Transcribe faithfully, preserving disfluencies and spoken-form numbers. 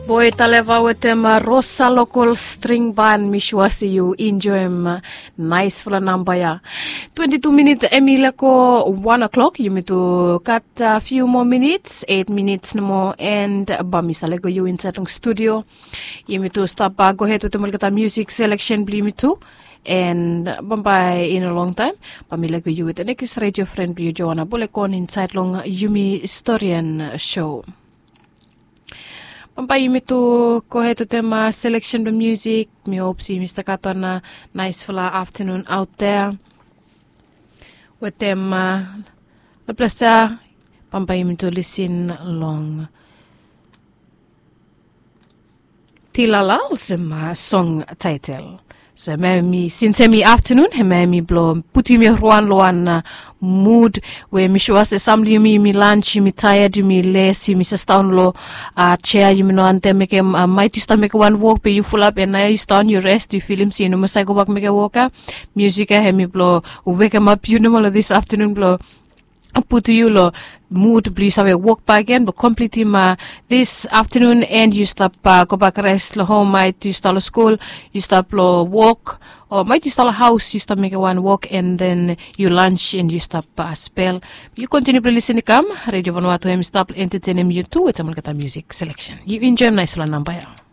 Boy Taleva wetem Rosa Local String Band, mi sua se yu enjoem naisfala namba ya. Twenty-two minit em i leko one o'clock, yumi tu gat a few more minutes, eight minutes nomo, and ba mi sa lego yu inside long studio. Yumi tu stap gohed wetem olgeta music selection blo yumi tu, and bambae in a long time ba mi lego yu wetem next radio friend blo yu, Joanna Bolekon, inside long Yumi Storian show. Bambae yumi tu gohed wetem seleksen blong musik. Mi hop se yumi stap gat wan naisfala aftanun aot dea wetem laplasa. Bambae yumi tu lisin long Tilala olsem song taetel. So hemia, sins hemi aftanun, hemia hemi blong putum yumi wan long wan mud we mi sua se sam blong yumi, yumi lans, yumi taead, yumi les, yumi sasdaon long sea, yumi no wantem mekem, maet yu stap mekem wan wok be yu fulap and naoia yu sasdaon, yu res, yu filim se yu no mas save gobak mekem wok ya. Musik ya hemi blong wekemap yu nomo long this aftanun blong putum yu long mud blong yu save wok bakegen blong komplitim this aftanun, and yu stap gobak res long hom, maet yu stap long skul, yu stap long wok, o maet yu stap long haos, yu stap mekem wan wok, and then yu lans and yu stap spel. Yu kontiniu blong lisin i kam. Radio Vanuatu hemi stap long entetenem yu tu wetem olgeta musik seleksen. Yu enjoem naisfala namba ya.